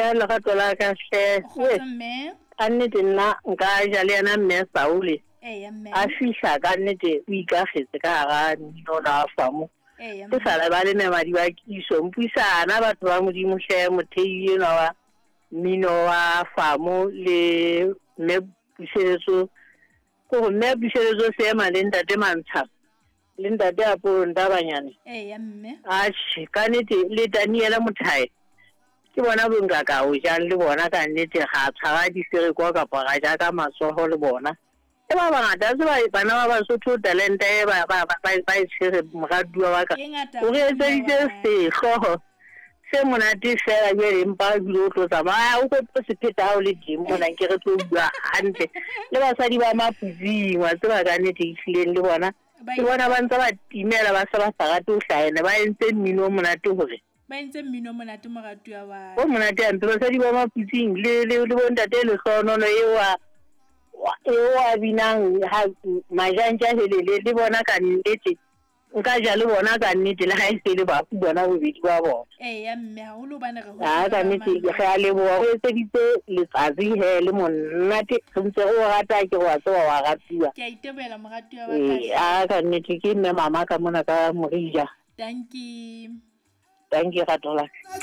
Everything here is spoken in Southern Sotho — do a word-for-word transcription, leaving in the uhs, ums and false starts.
Eya, lerato la ka hle. Kgotso mme. Ka nnete nna nka ja le yena mme Saule. Eya mme. A fihla ka nnete o ikakgetse ka hara mmino ona wa famo. Eya Ke mme. sa lebale Memadi wa Kiso. Mpuisana batho ba Modimo hle, mothei enwa wa mmino wa famo le mme Puseletso. Kore mme Puseletso Seema le ntate Mantsha le ntate Apollo Ntabanyane. Eya mme. Atjhe, ka nnete le Daniela Mothae. Ke bona bo nka ka o jang le bona ka nnete, ga tshwara disereko kapa ra ja ka matsoho le bona. E ba bangata, a tseba bana ba Basotho talente e ba ba ba ba e tshwere, moratuwa wa ka. E ngata O re haholo mme etseditse wa ka. sehlooho se monate fela jwale, empa ebile o tlo tsamaya o tlo se pheta ha o le teng mona, nke re tlo bua hantle le basadi ba Maputsing. Wa tseba ka nnete ehlileng le bona Ba ke bona ba ntse ba timela, ba se ba sa rate ho hlahela, ba entse mmino o monate hore Ba entse mmino o monate, moratuwa wa o monate hampe, basadi ba Maputsing le le le bontate Lehlohonolo eo a eo a binang ha majantja helele le bona. Ka nnete nka ja le bona ka nnete, le ha e se le bafu bona bobedi ba bona. Eya mme, haholo hobane re A hotse ka re ba nnete mamela. re a leboha, o etseditse letsatsi he le monate, re ntse re o rata ke wa tseba wa ratuwa. Ke a itebohela, moratuwa wa ka. Ee, a ka nnete ke mme mama ka mona ka Morija. Dankie. Dankie, rato la ka.